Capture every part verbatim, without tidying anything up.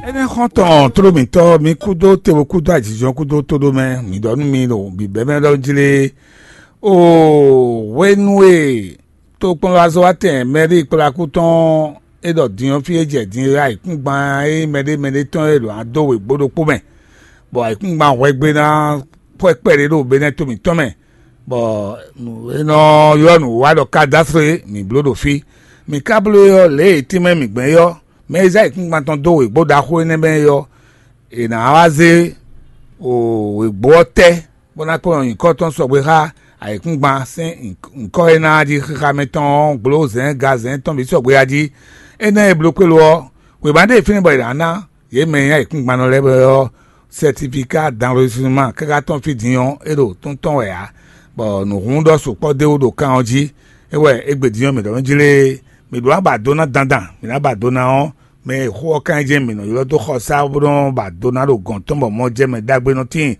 Énɛ́ xɔ́ntɔn tló mǐtɔn, mi kúdó tevo kúdó ajijɔ kúdó tóɖó mɛ, mǐ ɖɔ nú mi ɖo bǐbɛ́mɛ ɖɔ jlé. O hwenu e tokpɔnlazɔ́watɛn mɛɖée kplá kú tɔn e ɖɔ din ɔ́, fí e jɛ din e ayǐkúngban e mɛɖé mɛɖé tɔn e ɖo ǎ dó wěgbó ɖokpó mɛ, bɔ ayǐkúngban hwɛgbe ná xwɛ kpɛɖé ɖo Benɛ́ to mǐtɔn mɛ, bɔ nǔ e nɔ ylɔ́ nǔwiwa ɖɔ kadásre mǐ bló ɖo fí. Mǐ ka bló é ɔ́, lě e tínmɛ mǐ gbɛn é ɔ́, mɛ e zé ayǐkúngban tɔn dó wěgbó ɖaxó énɛ́ mɛ é ɔ́, è nǎ wá zé wěgbó ɔ́ tɛ́, bó ná kplɔ́n nyǐkɔ tɔn sɔgbe xá ayǐkúngban sín nyǐkɔ e ná jí xixa mɛ tɔn ɔ́ gbló zɛ̌n gazɛ̌n tɔn bǐ sɔgbe a jí. Énɛ́ e bló kpé lo ɔ́, wěma ɖé e fínɛ́ bɔ è nǎ ná yě mɛ e nyí ayǐkúngban lɛ́ɛ ɔ́, sɛtifika danlózuma káká tɔn fí din ɔ́, é ɖo tún tɔn wɛ ǎ, bɔ nǔhún ɖɔ sukpɔ́ d'é wú ɖo kan ɔ́ jí. É wɛ égbé din ɔ́, mǐ ɖɔ nú jlé, mǐ ɖó ná ba do ná dandan, mǐ ná ba do ná ɔ́, mɛ e xó ɔ́ ka nyí jɛ́n mǐ nɔ ylɔ́ dó xɔsá bó nɔ́ ba do ná ɖo gɔ̌n tɔn bɔ mɔ jɛ mɛ ɖagbe nɔ tíin.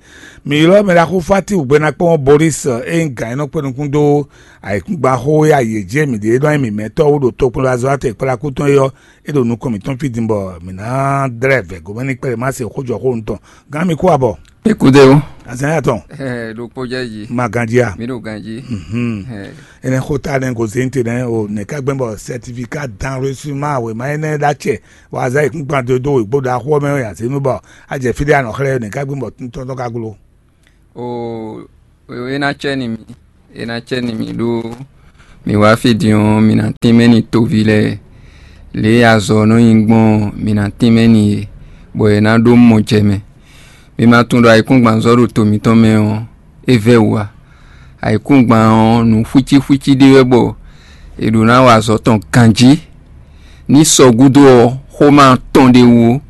Mǐ ylɔ́ mɛ ɖaxó Fáti wǔgbéná kpɔ́n Boris e nyí gǎn e nɔ kpé nukún dó ayǐkúngban xó e ayǐ e jí e mǐ ɖe e nɔ nyí mǐmɛtɔ́ wú ɖo tokpɔnlazɔ́watɛn kplakú tɔn é ɔ́, é ɖo nukɔn mǐtɔn fí din bɔ mǐ ná dlɛ́ vɛ̌ gomɛ ní kpɛɖé má se xó jɔ xó nǔ tɔn. Gán mi kú abɔ. Écoutez, Azanya tɔn. Ɛ ɖokpó jɛ yi. Ma ganji a. Mi ɖo ganji. Mhm. Ɛ. Ene xota ne gozente ne o ne ka gbɛn bɔ certificat d'enregistrement wema ene da cɛ wa za ikun gban do do igbo da xɔ mɛ ya zenu bɔ a jɛ fi de anɔ xlɛ ne ka gbɛn bɔ tɔntɔn ka glo. O e ná cɛ ni mi e ná cɛ ni mi ɖó mi wá fí din ɔ́, mi ná tínmɛ ni toví lɛ́ɛ. Lě e azɔ̌ nɔ nyi gbɔn ɔ́, mi ná tínmɛ ni yě, bɔ yě ná ɖó mɔ jɛ mɛ. Mi ma tunwun ɖɔ ayǐkúngban zɔ́ ɖo to mǐtɔn mɛ ɔ́, é vɛ́ wǔ ǎ. Ayǐkúngban ɔ́, nǔ xwícíxwící ɖé wɛ bɔ è ɖǒ ná wa azɔ̌ tɔn ganjí. Ní sɔ gúdo ɔ́, xó ma tɔn ɖ'é wú ó.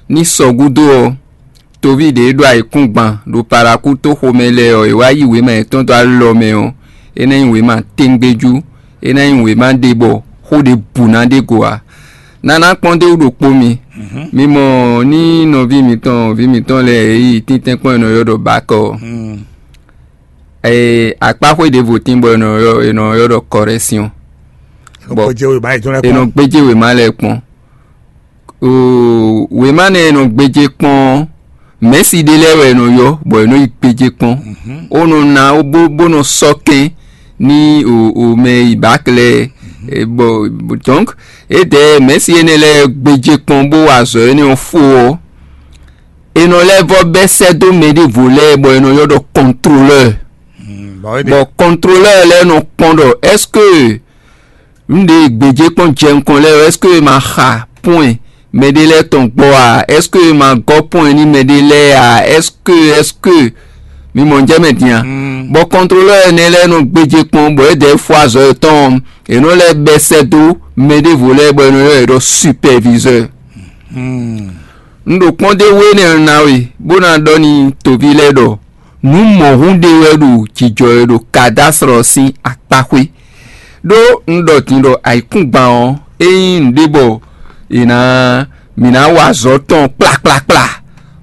Ní sɔ gúdo ɔ́, toví ɖě e ɖo ayǐkúngban ɖo Palakúto xomɛ lɛ́ɛ ɔ́, è wá yí wěma yětɔn dó alɔ mɛ ɔ́, é ná nyí wěma téŋgbéjú, é ná nyí wěma ɖé bɔ xó ɖěbǔ ná ɖe go ǎ. Nana kpɔ́n d'é wú ɖokpó mi. Mi mɔ ní nɔví mǐtɔn, vǐ mǐtɔn lɛ́ɛ e yi tíntɛ́nkpɔ́n e nɔ ylɔ́ ɖɔ Bakɔ ɔ́. Ee, akpáxwé ɖěvo tín bɔ è nɔ ylɔ́ è nɔ ylɔ́ ɖɔ Kɔrɛ́syɔn. Bɔ è nɔ gbéjé wěma lɛ́ɛ kpɔ́n. Oo, wěma nɛ e nɔ gbéjé kpɔ́n ɔ́, mɛ̌si ɖé lɛ́ɛ wɛ è nɔ ylɔ́, bɔ è nɔ yi gbéjé kpɔ́n. Ó nɔ ná bó bó nɔ sɔ́ kɛn ní o o mɛ yi bǎk lɛ́ɛ. E, bɔ donc édɛɛ mɛ̌si énɛ́ lɛ́ɛ gbéjé kpɔ́n bó wa azɔ̌ énɛ́ ɔ́ fó ɔ́, è nɔ lɛ́ vɔ́ bɛ́ sɛ́ dó mɛ ɖěvo lɛ́ɛ bɔ è nɔ ylɔ́ ɖɔ kɔntrolɛ́ɛ. Bɔ kɔntrolɛ́ɛ lɛ́ɛ nɔ kpɔ́n ɖɔ est-ce que nǔɖé e gbějé kpɔ́n jɛ nukɔn lɛ́ɛ ɔ́, est-ce que è ma xa pɔ́n mɛɖé lɛ́ɛ tɔn gbɔ a? Est-ce que è ma gɔ́ pɔ́n n'i mɛɖé lɛ́ɛ a? Est-ce que est-ce que mi mɔ jɛ mɛ din a? Bɔ kɔntrolɛ́ɛ ɛnɛ lɛ́ɛ nɔ gbéjé kpɔ́n, bɔ é dɛ fó azɔ̌ yětɔn ɔ́, è nɔ lɛ́ bɛ́ sɛ́ dó mɛ ɖěvo lɛ́ɛ bɔ è nɔ ylɔ́ yě ɖɔ superviseur. Un ɖo kpɔ́n d'é wú énɛ́ ɔ́ ná we, bó ná ɖɔ n'i toví lɛ́ɛ ɖɔ nǔ mɔ̌hun ɖé wɛ ɖo jǐjɔ e ɖo Kadáslɔ sín akpáxwé. Ɖó un ɖɔ din ɖɔ ayǐkúngban ɔ́, é nyí nǔɖé bɔ è nǎ mǐ ná wa azɔ̌ tɔn kplakplakpla,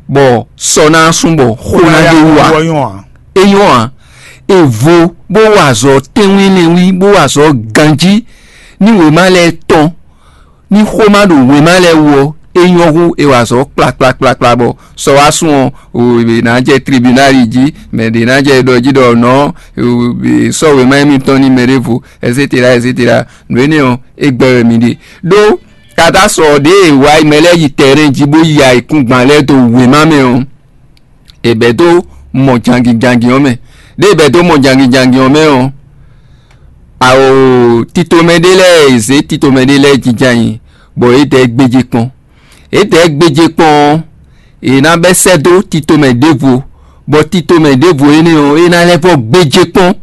bɔ sɔ ná sú bɔ xó ná ɖe wú ǎ. É nyɔ́ ǎ. È vo bó wa azɔ̌ tɛ́nwínlɛ́nwí, bó wa azɔ̌ ganjí ní wěma lɛ́ɛ tɔn. Ní xó ma ɖo wěma lɛ́ɛ wú ɔ́, é nyɔ́ hú è wa azɔ̌ kplakplakplakpla bɔ sɔ wá sún ɔ́, è nǎ jɛ tribunali jí, mɛ ɖě ná jɛ ɖɔ jí ɖɔ nɔ̌ sɔ́ wěma émítɔn n'i mɛ ɖěvo, etcetera etcetera. Nǔ énɛ́ ɔ́, é gbɛ́ wɛ mi ɖe. Ɖó katáslɔ ɖě e è wá mɛ lɛ́ɛ yi tɛrɛn jí bó yi ayǐkúngban lɛ́ɛ dó wěma mɛ ɔ́, è bɛ̌ dó mɔ jangin jangin ɔ́ mɛ. Ɖěe è bɛ̌ dó mɔ jangin jangin ɔ́ mɛ ɔ́, ao titomɛ ɖé lɛ́ɛ è zě titomɛ ɖé lɛ́ɛ jínjɔ́n ayǐ, bɔ yě dɛ̌ gbéjé kpɔ́n. Yě dɛ̌ gbéjé kpɔ́n ɔ́, è nǎ bɛ́ sɛ́ dó titomɛ ɖěvo, bɔ titomɛ ɖěvo énɛ́ ɔ́, é ná lɛ́ vɔ́ gbéjé kpɔ́n,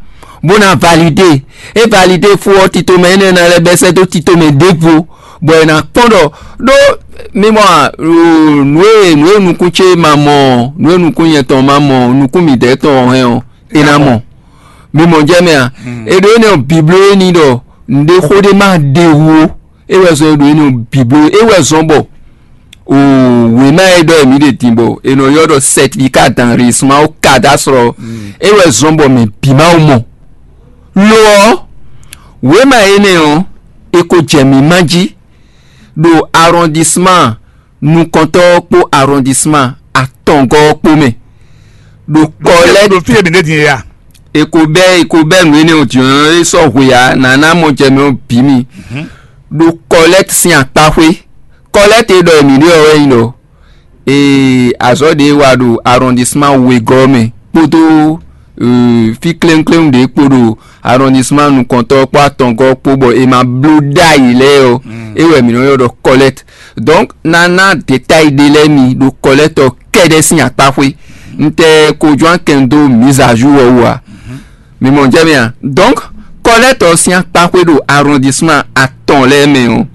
bó ná validé. É validé fó ɔ́, titomɛ énɛ́ ná lɛ́ bɛ́ sɛ́ dó titomɛ ɖěvo, bɔ è nǎ kpɔ́n ɖɔ ɖó mi mɔ a, nǔ e nǔ e nukún ce ma mɔ ɔ́, nǔ e nukún nyɛ tɔn ma mɔ ɔ́, nukún mǐdɛɛ tɔn ɔ́ hɛn ɔ́, é ná mɔ. Mi mɔ jɛ mɛ a? È ɖo énɛ́ ɔ́, bǐbló é ní ɖɔ nǔɖé xó ɖé ma ɖe wú ó. É wɛ zɔn è ɖo énɛ́ ɔ́, bǐbló é wɛ zɔn bɔ o wěma e ɖɔ mǐ ɖe din bɔ è nɔ ylɔ́ ɖɔ certificat d'enregistrement au cadastre ɔ́, é wɛ zɔn bɔ mɛ bǐ ma wú mɔ. Lo ɔ́, wěma énɛ́ ɔ́, è ko jɛ mǐ ma jí ɖo arrondissement nukɔntɔ́ ɔ́ kpó arrondissement atɔngɔ́ ɔ́ kpó mɛ ɖo kɔlɛ́. Ɖo fí e mǐ ɖe din e a? È ko bɛ́ è ko bɛ́ nǔ énɛ́ ɔ́ din ɔ́, é sɔ́ hwe ǎ, nǎ ná mɔ jɛ mɛ ɔ́ bǐ mi. Ɖo kɔlɛ́t sín akpáxwé. Kɔlɛ́t e ɖɔ è mǐ ɖe ɔ́ wɛ nyí ɖɔ ee azɔ̌ ɖě wa ɖo arrondissement wegɔ́ mɛ kpódó fí kléwúnkléwún ɖě kpo ɖo arrondissement nukɔntɔ́ kpó atɔngɔ́ kpó bɔ è ma bló ɖ'ayǐ lɛ́ɛ ɔ́, é wɛ mǐ nɔ ylɔ́ ɖɔ kɔlɛ́t. Donc ná ná détail ɖé lɛ́ɛ mi ɖo kɔlɛ́t ɔ́ kɛ́ɖɛ́ sín akpáxwé. Un tɛ ko jɔ́n akɛn dó mise à jour ɔ́ wú ǎ. Mi mɔ jɛ mɛ a? Donc kɔlɛ́t ɔ́ sín akpáxwé ɖo arrondissement atɔn lɛ́ɛ mɛ ɔ́,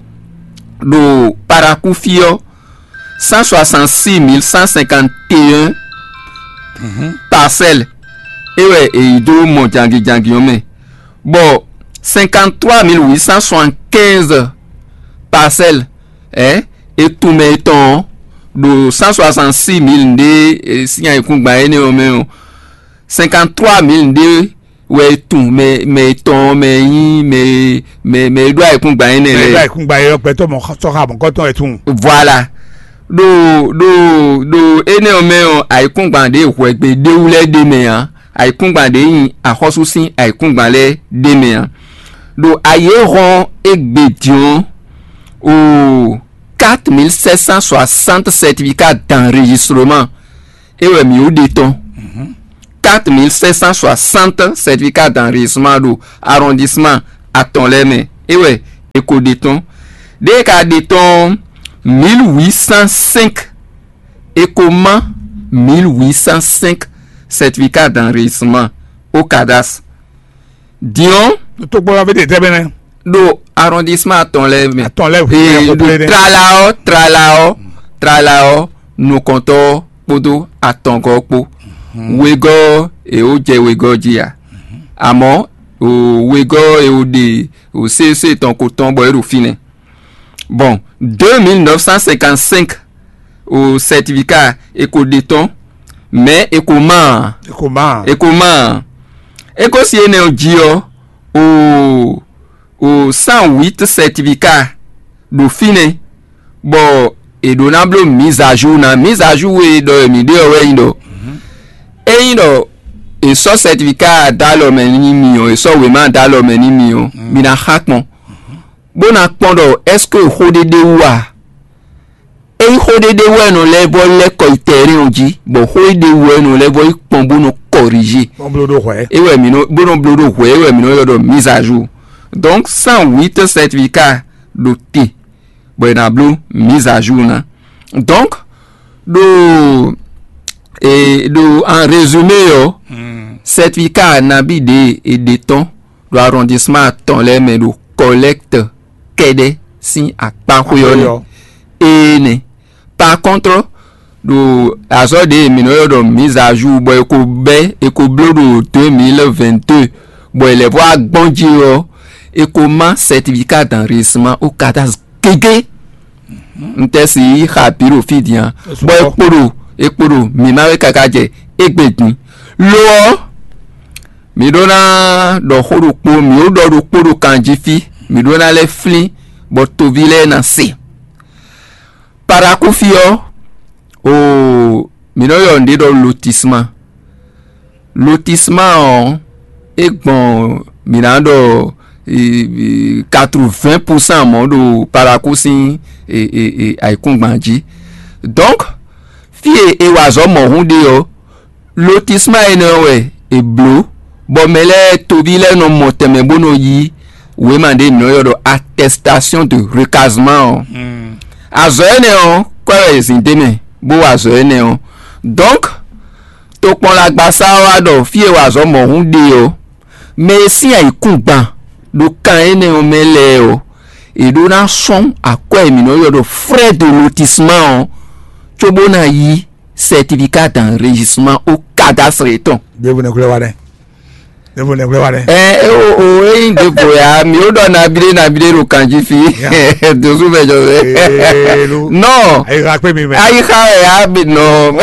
ɖo Parakou fí ɔ́, cent soixante-six mille cent cinquante et un parcelles é wɛ è yi dó mɔ jangijangi ɔ́ mɛ, bɔ cinquante-trois mille huit cent soixante-quinze parcelles ɛ e tunmɛ tɔn ɔ́ ɖo cent soixante-six mille ɖé sín ayǐkúngban énɛ́ ɔ́ mɛ ɔ́, cinquante-trois mille ɖé wɛ e tun mɛ mɛ etɔn mɛ e nyí mɛ mɛ mɛ e ɖó ayǐkúngban énɛ́ lɛ́ɛ. Mɛ e ɖó ayǐkúngban é ɔ́, gbɛtɔ́ mɔ xɔ- sɔ́ xá mɔ̌kɔtɔn wɛ tunwun. Voilà. Ɖo ɖo ɖo énɛ́ ɔ́ mɛ ɔ́, ayǐkúngban ɖě hwɛgbe ɖéwú lɛ́ɛ ɖ'é mɛ ǎ. Ayǐkúngban ɖě nyí axɔ́sú sín ayǐkúngban lɛ́ɛ ɖ'é mɛ ǎ. Ɖo ayǐ e hɔn égbé din ɔ́, o quatre mille sept cent soixante certificats d'enregistrement é wɛ mǐ ɖe tɔn. Quatre mille sept cent soixante certificats d'enregistrement ɖo arrondissement atɔn lɛ́ɛ mɛ é wɛ è ko ɖe tɔn. Ɖěe ka ɖe tɔn mille huit cent cinq, è ko má mille huit cent cinq certificats d'enregistrement au cadastre. Din ɔ́, Tó gbɔ ɔ́ fé ɖe tɛ́ mɛ nɛ́? Ɖo arrondissement atɔn lɛ́ɛ mɛ. Atɔn lɛ́ɛ hu Ee, lɛ́ɛ ɖo xɔkplé nɛ́. Tlala ɔ́, tlala ɔ́, tlala ɔ́, nukɔntɔ́ ɔ́ kpódó atɔngɔ́ ɔ́ kpó. Wegɔ́ ɔ́, è ó jɛ wegɔ́ jí ǎ. Amɔ̌, o wegɔ́ ɔ́, è ó ɖe o C E C tɔn ko tɔn bɔ é ɖo fínɛ́. Bon, deux mille neuf cent cinquante-cinq o certificat è ko ɖe tɔn, mais è ko má ǎ. È ko má ǎ. È ko má ǎ. É ko si énɛ́ ɔ́ jí ɔ́, o o cent huit certificat ɖo fínɛ́, bɔ è ɖǒ ná bló mise à jour ná. Mise à jour e ɖɔ mǐ ɖe ɔ́ wɛ nyí ɖɔ ényí ɖɔ è sɔ́ certificat dó alɔ mɛ n'i mì ɔ́, è sɔ́ wěma dó alɔ mɛ n'i mì ɔ́, mi ná xa kpɔn, bó ná kpɔn ɖɔ est-ce que xó ɖé ɖ'é wú a? Ényí xó ɖé ɖ'é wú wɛ è nɔ lɛ́ vɔ́ lɛ́ kɔ yi tɛ́ntin ɔ́ jí, bɔ xó ɖé ɖ'é wú wɛ è nɔ lɛ́ vɔ́ yi kpɔn bó nɔ corriger. Bó bló ɖó hwɛ̌. É wɛ mǐ nɔ bó nɔ bló ɖó hwɛ̌, é wɛ mǐ nɔ ylɔ́ ɖɔ mise à jour. Donc cent huit certificat ɖo te, bɔ è nǎ bló mise à jour ná. Donc ɖo e ɖo en résumé ɔ́, certificat nabí ɖě è ɖe tɔn ɖo arrondissement atɔn lɛ́ɛ mɛ ɖo collecte kɛ́ɖɛ́ sín akpáxwé ɔ́ nɛ́. Énɛ́. Par contre, ɖo azɔ̌ ɖě mǐ nɔ ylɔ́ ɖɔ mise à jour bɔ è ko bɛ́ è ko bló ɖo deux mille vingt-deux, bɔ è lɛ̌ vɔ́ wá gbɔn jí ɔ́, è ko má certificat d'enregistrement au cadastre gégé. Un tɛ si yi xa bǐ ɖo fí din a? Bɔ è kpo ɖo è kpo ɖo mǐ má wɛ káká jɛ égbé din. Lo ɔ́, mǐ ɖó ná ɖɔ xó ɖokpó, mǐ ó ɖɔ ɖokpó ɖo kan jí fí, mǐ ɖó ná lɛ́ flín bɔ toví lɛ́ɛ ná se. Parakou fí ɔ́, oo, mǐ nɔ ylɔ́ nǔɖé ɖɔ lotissement. Lotissement ɔ́, é gbɔn mǐ ná ɖɔ quatre-vingts pour cent mɔ̌ ɖo Parakou sín ayǐkúngban jí. Donc fí e è wa azɔ̌ mɔ̌hun ɖe ɔ́, lotissement énɛ́ ɔ́ wɛ è blǒ, bɔ mɛ lɛ́ɛ toví lɛ́ɛ nɔ mɔ tɛnmɛ bó nɔ yí wěma ɖé mǐ nɔ ylɔ́ ɖɔ attestation de recasement ɔ́. Azɔ̌ énɛ́ ɔ́, kwɛ́ wɛ è zǐn d'é mɛ bó wa azɔ̌ énɛ́ ɔ́. Donc tokpɔnlagbasá ɔ́ wá ɖɔ fí e wa azɔ̌ mɔ̌hun ɖe ɔ́, mɛ e sín ayǐkúngban ɖo kan énɛ́ ɔ́ mɛ lɛ́ɛ ɔ́, è ɖó ná sɔ́n akwɛ́ e mǐ nɔ ylɔ́ ɖɔ frais de lotissement ɔ́, cóbó ná yí certificat d'enregistrement au cadastre yětɔn. Ɖěvo nɛ́ glɔ́ wa nɛ́. Ɖěvo nɛ́ glɔ́ wa nɛ́. Ɛ o o ényí ɖěvo ya mǐ ó ɖɔ nabíɖé nabíɖé ɖo kan jí fí. Dǒsú mɛ jɔ fɛ. Nɔ Ayixa kpé mi mɛ. Ayixa ya bi nɔ.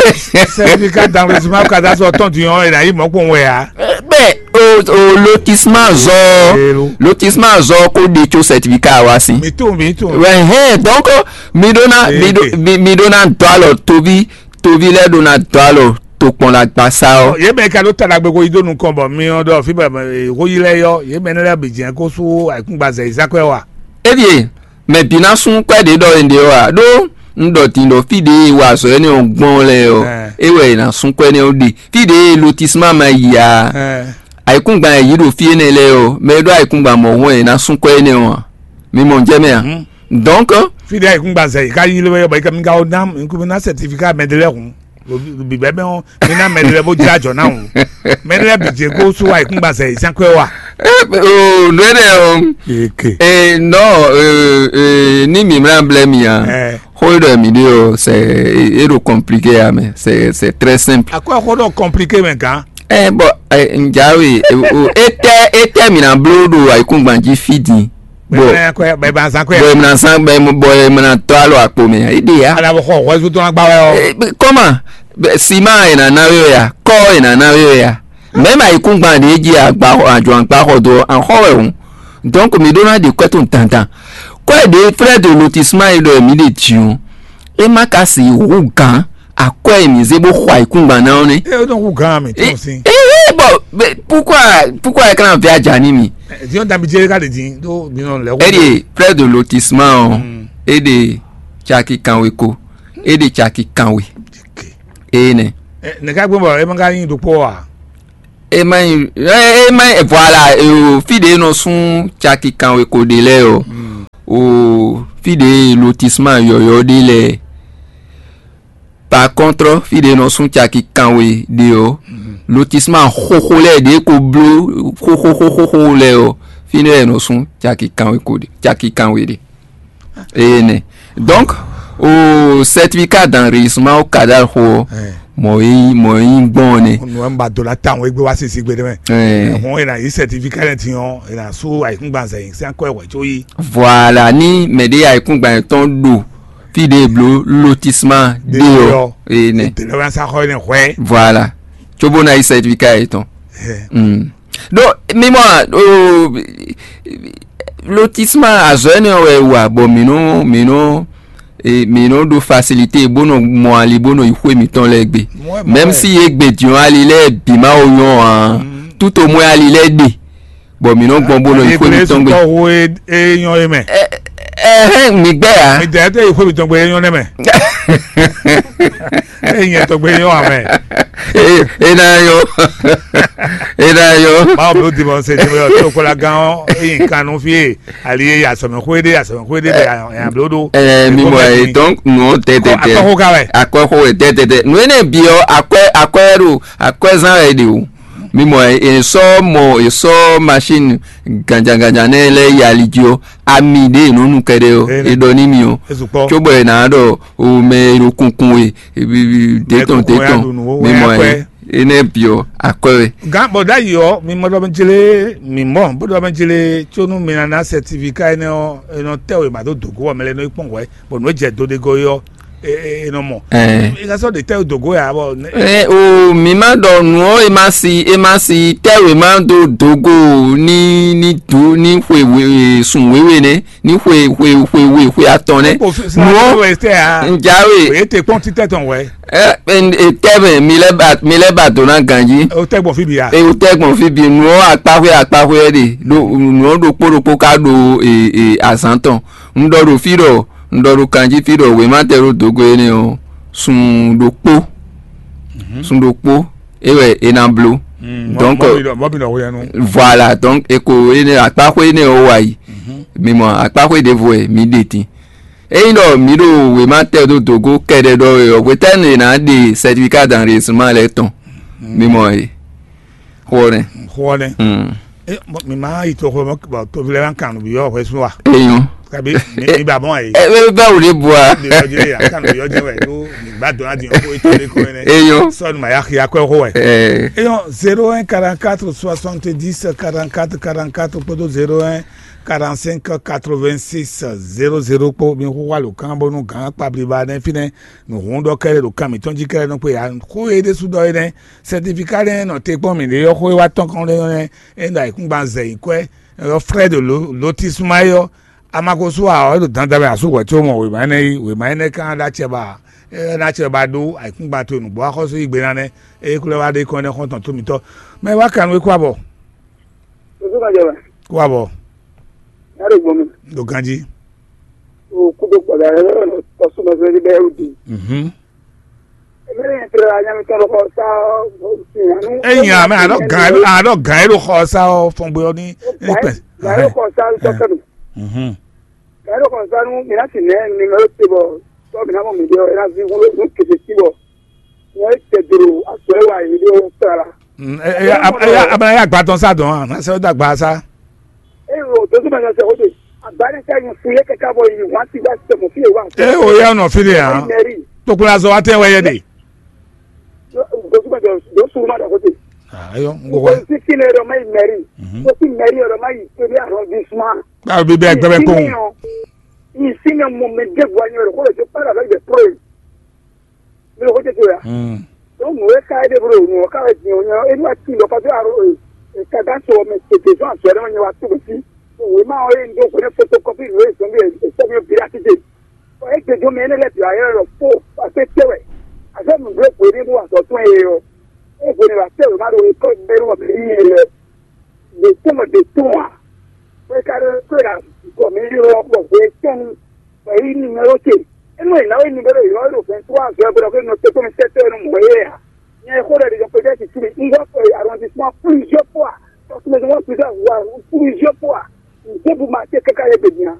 Certificat d'enregistrement au cadastre tɔn din ɔ́, è nǎ yí mɔ̌ kpɔn wɛ ya. Bɛɛ o o lotissement azɔ, lotissement azɔ ko ɖe tso certificat wa si. Mi to mi to. Ouais, hein, donc mi ɖó ná mi ɖó mi mi ɖó ná dɔ alɔ toví toví lɛ ɖó ná dɔ alɔ to kpɔn la gba sa ɔ. Yě mɛ ka ɖó ta ɖagbe ko yi dó nukɔn bɔ mi ɔ ɖɔ fí bɛ ho yi lɛ yɔ yě mɛ ne lɛ bi jɛn ko sú ayikúngba zɛ yi sákɔɛ wa. Ebie, mɛ bǐ ná sún kwɛ́ ɖě ɖɔ è ɖe ɔ́ ǎ ɖó un ɖɔ din ɖɔ fí ɖě e wa azɔ̌ énɛ́ ɔ́ gbɔn lɛ́ɛ ɔ́, é wɛ è nǎ sún kwɛ́ énɛ́ ɔ́ ɖe. Fí ɖě e lotissement ma yi ǎ, ayǐkúngban e yǐ ɖo fí énɛ́ lɛ́ɛ ɔ́, mɛ e ɖó ayǐkúngban mɔ̌hun wɛ è nǎ sún kwɛ́ énɛ́ ɔ́ ǎ. Mi mɔ jɛ mɛ a? Donc, fí ɖě ayǐkúngban zɛ yi ká yí lé wɛ bɔ yi ká mi ka wɔ ná mi kú mi ná certificat mɛ ɖé lɛ́ɛ hǔn. Bǐbɛ́ mɛ ɔ́, mi ná mɛ ɖé lɛ́ɛ bó jlá jɔ ná hǔn. Mɛ ɖé lɛ́ɛ bǐ jɛ kó sú ayǐkúngban zɛ yi sɛn kwɛ wa. Oh, nú énɛ́ ɔ́, eke. E nɔ e, e, ní mǐ mlá blɛ́ mi ǎ. Xó e ɖɔ mǐ ɖe ɔ́, c'est e ɖo compliqué ǎ mɛ, c'est c'est très simple. Akwɛ́ xó ɖɔ compliqué mɛ gán. Ɛ bɔ ɛ njawe e o etɛ etɛ mǐ ná bló ɖo ayǐkúngban jí fí din. Bɔ bɔ ɛ mìna zan bɔ ɛ mìna tɔ alɔ akpo mɛ e de ya. Ala bɔ xɔ hwɛzu tɔn agba wɛ ɔ. Kɔma sima e na na we ya kɔ e na na we ya mɛ ma yi kún gban de ji agba ajɔ agba xɔ do an xɔ wɛ o. Donc mi ɖó ná ɖe kwɛ tɔn dandan. Kwɛ ɖe frère de lotissement yi ɖɔ mi ɖe ji o. E ma ka si hu gan akwɛ e mi zé bó xɔ ayikúngban ná ɔ́ nɛ. E ɖo hu gan mi tún si. Ee bɔ pourquoi pourquoi e kana vɛ aja ni mi. Diɲɔ dabi jɛ ka de din do mi nɔ lɛ. E de près de lotissement ɔ e de caki kanwe ko e de caki kanwe e nɛ. Ne ka gbɔn bɔ e ma ka yin ɖokpɔ wa. E ma yin e ma yin voilà o fi de nɔ sún caki kanwe ko de lɛ o o fi de lotissement yɔyɔ de lɛ. Par contre, fí ɖě nɔ sún caki kanwe ɖe ɔ́, lotissement xóxó lɛ́ɛ ɖě ko bló xóxóxóxó lɛ́ɛ ɔ́, fínɛ́ wɛ è nɔ sún caki kanwe ko ɖe, caki kanwe ɖe. Eye nɛ. Donc, o certificat d'enregistrement o cadal xo ɔ́, mɔ̌ e nyí mɔ̌ e nyí gbɔn ɔ́ nɛ. Nǔ wɛ un ba do ná ta àwọn égbé wá sisi gbe ɖé mɛ. Hɔn e na yi certificat lɛ ti ɔn e na sú ayikúngban zɛ yi sɛn kɔ ɛ wɛ tso yi. Voilà, ní mɛ ɖé ayikúngban yɛtɔn ɖo fí ɖě e bló lotissement ɖe ɔ́, ene. Délɔwɛnsaxɔ ene hwɛ. Voilà, cóbó ná yi certificat yětɔn. Mm. Ɖó mímɔ o lotissement azɔ énɛ́ wɛ wa bɔ mǐ nɔ mǐ nɔ e mǐ nɔ ɖó facilité bó nɔ mɔ ali bó nɔ yi xwé mǐtɔn lɛ́ɛ gbe. Même si yě gbe diɔn ali lɛ́ɛ bǐ ma wo nyɔ́ ǎ, tout au moins ali lɛ́ɛ ɖe. Bɔ mǐ nɔ gbɔn bó nɔ yi xwé mǐtɔn gbe. Tɔxu e nyɔ e mɛ. Ɛhɛn, mi gbɛ ya. Mi dɛ tɛ yi xwé mǐtɔn gbe e nyɔ nɛ mɛ. E nyɛ tɔgbe nyɔ amɛ. E na yɔ. E na yɔ. Mawu blo dimɔ se dimɔ yɔ tó kɔla gán ɔ eyi kanu fi e ali e yasɔmɛ xwé ɖe yasɔmɛ xwé ɖe bɛ yan blo ɖo. Ɛ mi mɔ ye donc nɔ tɛtɛtɛ. Akɔxo ka wɛ. Akɔxo wɛ tɛtɛtɛ nu ene bi ɔ akɔɛ akɔɛ ɖo akɔɛ zan wɛ ɖe o. Mi mɔ e sɔ mɔ e sɔ machine ganjanganjan nɛ lɛ yi ali jí ɔ ami ɖe e nɔ nu kɛɖɛ ɔ e ɖɔ ní mi ɔ. Cóbɔ e nǎ ɖɔ o mɛ e ɖo kunkun e detɔn detɔn mi mɔ e enɛ bi ɔ akɔɛ wɛ. Gán bɔ ɖ'ayǐ ɔ mi mɔ ɖɔ mi jlé mi mɔ bó ɖɔ mi jlé có nú mi ná ná certificat énɛ́ ɔ́ e nɔ tɛ wěma dó dǒgó ɔ́ mɛ lɛ́ɛ nɔ yi kpɔ́n hwɛ̌ bɔ nǔ e jɛ do ɖe gɔ́ é ɔ́ e e nɔ mɔ. E ka sɔ́ ɖe tɛ́ dǒgó ya bɔ. Ɛ o mi ma ɖɔ nǔ ɔ́ e ma si e ma si tɛ́ wěma dó dǒgó ní ní dǒ ní xwe sun wěwe nɛ́ ní xwe xwe xwe we xwe atɔn nɛ́. Nǔ ɔ́ njawe. Èyí te kpɔ́n títẹ̀ tɔn wɛ. Ɛ ɛ tɛ́ mɛ mi lɛ ba mi lɛ ba dǒ ná ganjí. O tɛ gbɔn fi bi ya. E o tɛ gbɔn fi bi nǔ ɔ́ akpaxwé akpaxwé ɛ ɖe ɖo nǔ ɔ́ ɖokpó ɖokpó ka ɖo e e azǎn tɔn. Un ɖɔ ɖo fí ɖɔ un ɖɔ ɖo kanjí fí ɖɔ wěma tɛ ɖó dǒgó énɛ́ ɔ́, sun ɖokpó sun ɖokpó é wɛ é ná bló. Donc voilà, donc e ko énɛ́ akpaxwé énɛ́ ɔ́ wa yi. Mi mɔ akpaxwé ɖěvo wɛ mi ɖe din. Ényí ɖɔ mǐ ɖo wěma tɛ ɖó dǒgó kɛɖɛ ɖɔ é ɔ́, hwetɛ́nu è nǎ ɖe certificat d'enregistrement lɛ́ɛ tɔn? Mi mɔ e xó ɔ́ nɛ́. Xó ɔ́ nɛ́. Mm. E, bɔ mi ma yi to xɔ mɔ bɔ tovi lɛ ma kan nǔ bi yɔ hwɛ sun wa. Eyɔn. Kabi mi mi ba mɔ ayi. Ɛ ɛ bɛ wuli bua. Bi yɔ jɛ ya kan nǔ bi yɔ jɛ wɛ ɖo mi gba dɔn adi yɔ ko eto de ko ene. Eyɔn. Sɔni ma ya xia kɔ xɔ wɛ. Ɛ. Eyɔn zéro un quarante-quatre soixante-dix quarante-quatre quarante-quatre kpódó zéro un quarante-cinq quatre-vingt-six zéro zéro kpó mi xó xwá lǒ kán bónú gǎn kpablíba nɛ́ fínɛ́ nǔhún ɖɔ kɛ́ɖɛ́ ɖo kan mǐtɔn jí kɛ́ɖɛ́ nɔ kpé ya xó e ɖésú ɖɔ é nɛ́. Sɛtifika nɛ́ nɔ te kpɔ́n mǐɖée ɔ́ xó e wá tɔ́n kɔn ɖé nɔ nɛ́ é ɖo ayǐkúngban zɛ yi kwɛ́ ɔ Frɛ́d Lotisma é ɔ́, amagosu ǎ ɔ́ é ɖo dandan wɛ asú hwɛ̌ có mɔ wěma énɛ́ yí wěma énɛ́ kán ɖó acɛ ba é ná acɛ ba ɖó ayǐkúngban towe nǔgbó axɔ́sú yí gbe ná nɛ́ é kúlɛ wá ɖe kɔn nɛ́ xɔ́ntɔn tó mitɔ́. Mɛ wá kan nú é kó abɔ. Ojú kan jẹ wɛ. Kó abɔ. Yàrá ìgbọ́n mi. Ɖo ganjí. O kúdo kpɔ̀dà rẹ lọ́rọ̀ lọ tọ́sùn lọ sí ẹgbẹ́ ẹrú di. Mhm. Ẹgbẹ́ yẹn tẹ̀lé la nyami tán lọ́kọ̀ sá. Eyin ame aɖɔ gan aɖɔ gan eɖo xɔ sa ɔ fɔn gbe ɔ ní ní pɛ. Yàrá ìkọ̀ sá ń tọ́kẹ́ mi. Mhm. Yàrá ìkọ̀ sá ń mi láti nẹ́ ni mẹ́rọ ti bọ̀ tọ́ mi náà mọ̀ mi dé ẹ náà fi wúlò ní kèké sí bọ̀. Ní ẹ tẹ̀ dòrò aṣọ ẹ wà yìí dé ó tẹ̀ la. Mm, e- e- ab- e- abala ya gba tɔn sa dɔn a na sɛ da gba sa. Eye o tó tó ma sɛ o de agbára ká yín fún yẹ kẹkẹ bọ yìí wọn ti gba sẹ mọ fi yẹ wa. E o ya nɔ fi de hàn. Mẹri Tokuna zɔ wa tɛ wɛ yɛ de. Tó tó ma sɛ o sùn ma dà kó de. Ayɔ n o kò wá. Si fi ne yɔrɔ ma yi mɛri Mhm. O si mɛri yɔrɔ ma yi pé ní arrondissement. Báwo bí bẹ́ẹ̀ gbẹ́bẹ́ kó. Yìí si ne mo mɛ dé bu anyi yɔrɔ kó lè tó pàdé avec des preuves. Mi ò kó tètè ya. Mm. Donc mo wɛ ka ede bro mo ka wɛ diɲɛ o nyɛ e ma ti lɔ kɔtɔ aro e ka da so mɛ tètè zɔn azɔ ɖe ma nyɛ wa to bɛ si. Wema o ye n do ko ne photocopie lo e zɔn bi e sɛ mi bi la tite. E gbe jo mɛ ne lɛ bi ayɛ lɔ fo a se te wɛ. A se nu blo ko ne bo azɔ tɔn ye o. E bo ne ba te o ma do e ko be lo be ni ye lɛ. De tɔn de tɔn a. Ko e ka do ko e ka ko mi yo ko ko e tɔn. Ko e ni me o te. E no e na o ni be lo yo lo vingt-trois juin bo ko no te ko mi sete no mo ye a. Nyɛ xo ɖe ɖe ko ɖe ti tumi. N gɔ ko arrondissement plusieurs fois. Parce que moi plusieurs fois, plusieurs fois. N gɔ bu ma te kaka ye be nya.